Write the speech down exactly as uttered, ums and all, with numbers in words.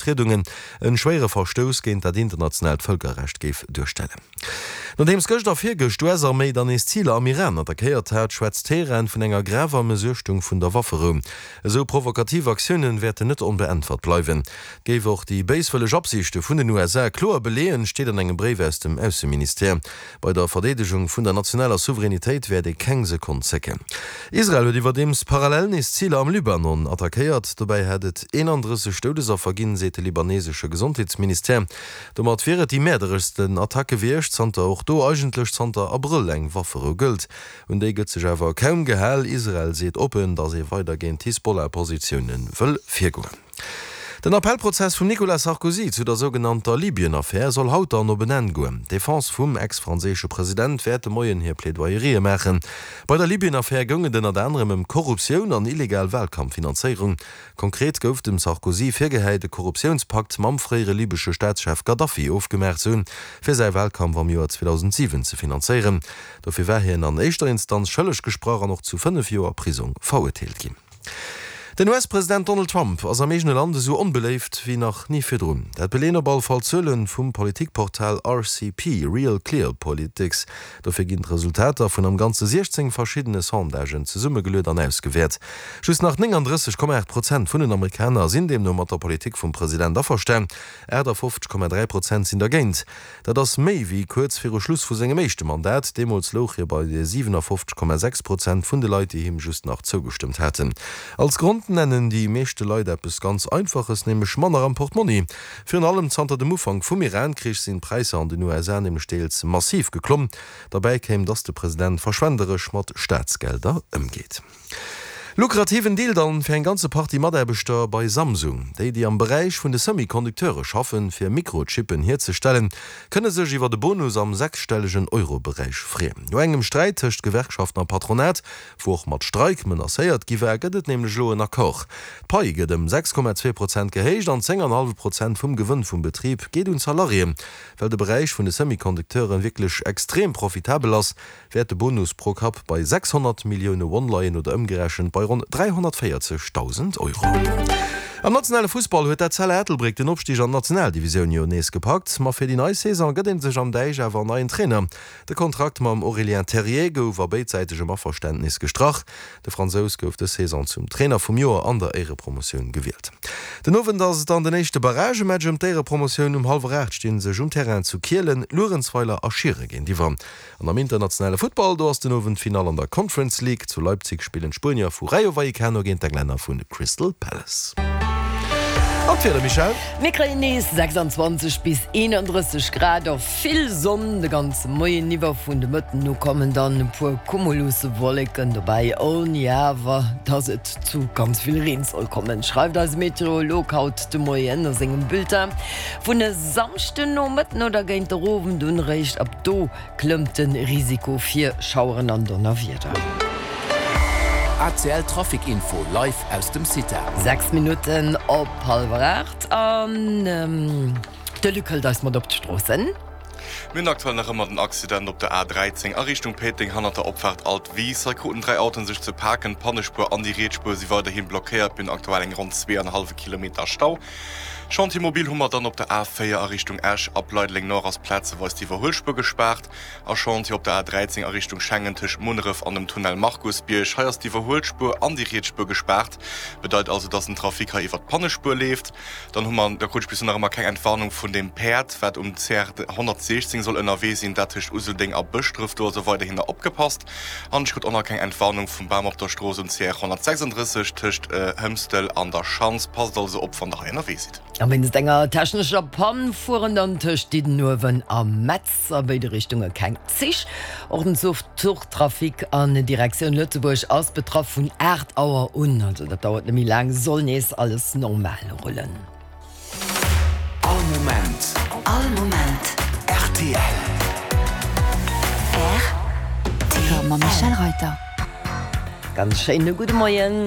Triedungen en schwéiere Verstouss géint dat internationaalt Vëlkerrecht géif duerstellen. Nodeems gëscht a virgëscht d'US-Arméi dann nees Ziler am Iran attackéiert hat, schwätzt Teheran vun enger graver Mëssuechtung vun der Wafferou. Esou provokativ Aktiounen wäerten net onbeäntwert bleiwen. Géif och déi béiswëlleg Absichte vun den U S A kloer beleeën, steet an engem Bréif aus dem Ausseministère. Bei der Verdeedegung vun der nationaler Souveränitéit wäert ee keng Sekonn zécken. Israel huet iwwerdeems parallel nees Ziler am Libanon attackéiert. Dobäi hätt et eenandrësseg Doudesaffer ginn, seet de libanesesche Gesondheetsministère. Domat wier et déi mäerdereschsten Attack gewiescht, zanter och do eigentlech zanter Abrëll eng Wafferou gëllt. Un déi gëtt sech awer kaum gehal. Israel seet oppen, datt ee weider géint d'Hisbollah-Positioune wëll virgoen. Den Appellprozess vum Nicolas Sarkozy zu der sougenannter Libyen-Affär soll haut dann op en Enn goen. D'Defense vum ex-franséische President wäert de Moien hir Plädoyerië maachen. Bei der Libyen-Affär goung et ënnert anerem ëm Korruptioun an illegal Walkampffinanzéierung. Konkret gouf dem Sarkozy virgehäit, e Korruptiounspakt mam fréiere libesche Staatschef Gaddafi ofgemaach ze hunn, fir säi Walkampf am Joer zweedausendsiwen ze finanzéieren. Dofir war hien an éischter Instanz schëlleg gesprach an och zu fënnef Joer Prisong verurteelt ginn. Den U S-President Donald Trump ass am eegene Land esou onbeléift wéi nach ni virdrun. Dat beleeën op alle Fall d'Zuele vum Politikportal R C P, Real Clear Politics. Dofir ginn d'Resultater vun am Ganze siechzéng verschiddene Sondagen zesummegeluet an ausgewäert. Just nach nénganddrësseg Komma aacht Prozent vun den Amerikaner sinn deemno mat der Politik vum President averstan, aachtafoffzeg Komma dräi Prozent sinn dergéint. Dat ass méi wéi kuerz viru Schluss vu sengem éischte Mandat, deemools louch hie bei siwenafoffzeg Komma sechs Prozent vun de Leit, déi him just nach zougestëmmt haten. Als Grond nennen déi meeschte Leit eppes ganz Einfaches, nämlech manner am Portmonni. Virun allem zanter dem Ufank vum Iran-Krich sinn d'Präisser an den U S A nämlech deels massiv geklomm. Derbäi kéim, dass de President verschwenderesch mat Staatsgelder ëmgeet. Lukrativen Deal dann fir eng ganze Partie Mataarbechter bei Samsung. Déi, déi am Beräich vun de Semi-Conducteure schaffen, fir Mikrochippen hierzestellen, kënne sech iwwer de Bonus am sechsstellegen Euro-Beräich freeën. No engem Sträit tëscht Gewerkschaften a Patronat, wou och mat Streik menacéiert gi war, gëtt et nämlech elo en Accord. D'Pai gëtt ëm sechs Komma zwee Prozent gehéicht an zéng an hallwe Prozent vum Gewënn vum Betrib geet un d'Salariéen. Well de Beräich vun de Semi-Conducteure wierklech extrem profitabel ass, wäert de Bonus pro Kapp bei sechshonnert Millioune Won leien oder ëmgerechent bei ronn dräihonnertvéierzegdausend Euro. Am nationale Fussball huet d'Etzella Ettelbréck den Opstig an d'Nationaldivisioun jo nees gepackt. Ma fir déi nei Saison gëtt ee sech am Däich awer en neien Trainer. De Kontrakt mam Aurélien Terrier gouf a béidsäitegem Averständnis gestrach. De Fransous gouf dës Saison zum Trainer vum Joer an der Éierepromotioun gewielt. Den Owend ass et dann den éischte Barragematch ëm d'Éierepromotioun. Um hallwer aacht sti sech um Terrain zu Kielen Luerenzweiler a Schiere géintiwwer. An am internationale Futtball, do ass den Owend d'Finall an der Conference League. Zu Leipzig spillen d'Spuenier vu Rayo Vallecano géint d'Englänner vu Crystal Palace. An d'Wieder, Michèle? Mir kréien nees sechsanzwanzeg bis eenandrësseg Grad a vill Sonn de ganze Moien iwwer. Vun de Mëtten u kommen dann e puer Cumuluswolleken dobäi, ouni awer dass et zu ganz vill Reen soll kommen, schreift eise Meteorolog haut de Moien a sengem Bulletin. Vun e Samschdennomëtten oder géint der Owend un eréischt, ab do klëmmt de Risiko fir Schaueren an Donnerwieder. A C L Trafic Info live aus dem CITA. Sechs Minutten op hallwer aacht an de Luc hëlt eis mat op d'Stroossen. Mir hunn aktuell nach ëmmer den Accident op der A dräizéng a Richtung Péiteng hannert der Opfaart Alt Wiiss. Hei kruten dräi Autoen sech ze paken. D'Pannespuer an déi riets Spuer si weiderhi blockéiert. Mir hunn aktuell eng ronn zwee an e hallwe Kilometer Stau. Chantier mobile hu mer dann op der A véier a Richtung Esch. Ab Leideleng Nord ass plazeweis d'Iwwerhuelspuer gespaart. A Chantier op der A dräizéng a Richtung Schengen tëscht Munneref an dem Tunnel Markusbierg. Hei ass d'Iwwerhuelspuer an déi riets Spuer gespaart. Bedeit also, dass den Trafic hei iwwert d'Pannespuer leeft. Dann hu mer, da krut ech bis elo nach ëmmer keng Entwarnung vun deem Päerd, wat um C R honnertsiechzéng soll ënnerwee sinn, dat tëscht Useldeng a Bëschdref. Do also weiderhin nach opgepasst. An ech krut och nach keng Entwarnung vum Bam op der Strooss um C R honnertsechsandrësseg tëscht Hëmstel an der Schanz. Passt also op, wann der hei ënnerwee sidd. A wéinst enger technescher Pann fueren dann tëscht Diddenuewen a Metz a béide Richtunge keng Zich. Och den Zuchtrafic an Direktioun Lëtzebuerg ass betraff. Vun aacht Auer un, also dat dauert net méi laang, soll nees alles normal rullen. All Moment. All Moment. R T L. R T L. Mam Michèle Reyter. Ganz schéine gudde Moien.